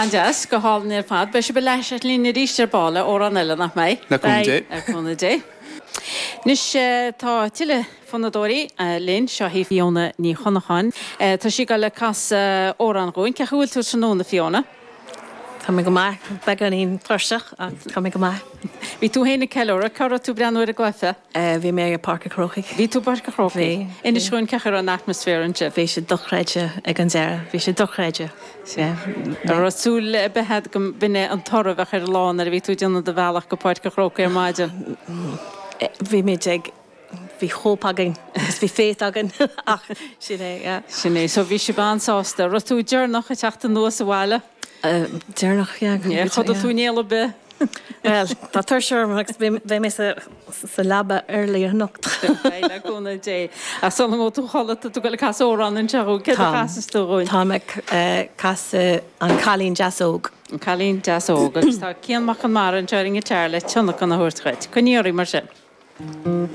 An-deas, go hálainn ar fad. Beidh sibh ar ais linn arís ar ball le amhrán eile, nach mbeidh? Le cúnamh Dé. Le cúnamh Dé. Anois tá tuilleadh fonnadóirí linn. Seo í Fiona Ní Chonacháin. Tá sí ag dul ag casadh amhrán dhúinn. Cén chaoi a bhfuil tú tráthnóna, Fiona? Tá mé go maith, beagáinín tuirseach ach tá mé go maith. Bhí tú féin ag ceiliúradh, cá raibh tú ag breathnú ar an gcluiche? Bhí mé ag Páirc an Chrócaigh. Bhí tú i bPáirc an Chrócaigh? Bhí. Inis dhúinn cén chaoi a raibh an atmaisféar ansin. Bhí sé dochreidte ag an deireadh, bhí sé dochreidte. Sea. An raibh súil ar bith agat go mb'in é an toradh a bheadh ar an lá nuair a bhí tú ag déanamh do bhealach go Páirc an Chrócaigh ar maidin? Bhí muid ag. Bhí hope againn agus bhí faith againn ach sin é, yeah. Sin é. So bhí sibh an-sásta. Raibh tú deireanach ag teacht anuas abhaile? Deireanach, yeah. Yeah, chodail tú in éal ar bith? Bhuel, tá tuirse orm agus beidh mé sa leaba early anocht. Beidh, le cúnamh Dé. Ach sula ngabhfaidh tú a chodladh, tá tú ag dul ag casadh amhrán anseo dhúinn. Céard a chasas tú dhúinn? Táim ag casadh An Cailín Deas Óg. An Cailín Deas Óg. Agus tá Cian Mac Con Mara anseo ar an ngiotár le tionlacan a thabhairt dhuit. Coinnigh oraibh mar sin.